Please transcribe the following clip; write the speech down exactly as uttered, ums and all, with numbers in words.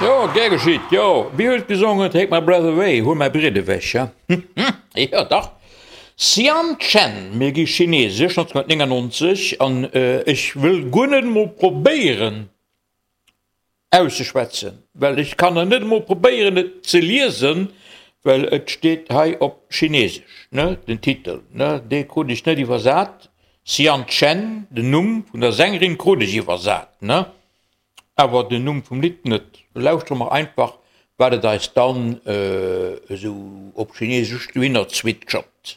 Jo, gär geschitt, jo. Wie huet gesongen Take my breath away, Huel mäi Briet ewech, ja? Jo, dach. Xian Chen, Mir gi chinesesch, nonzénhunnertnéngannonzeg, an ech wëll guer net emol probéieren auszeschwätzen, well ech kann net emol probéieren et ze liesen, well et steet hei op chinesesch, ne, den Titel, ne, dee krut ech net iwwersat. Xian Chen, den Numm vun der Sängerin krut ech iwwersat, ne, awer den Numm vum Lidd net. Lauschtere mer einfach, wat et eis dann esou op Chinesesch dohinner zwitschert.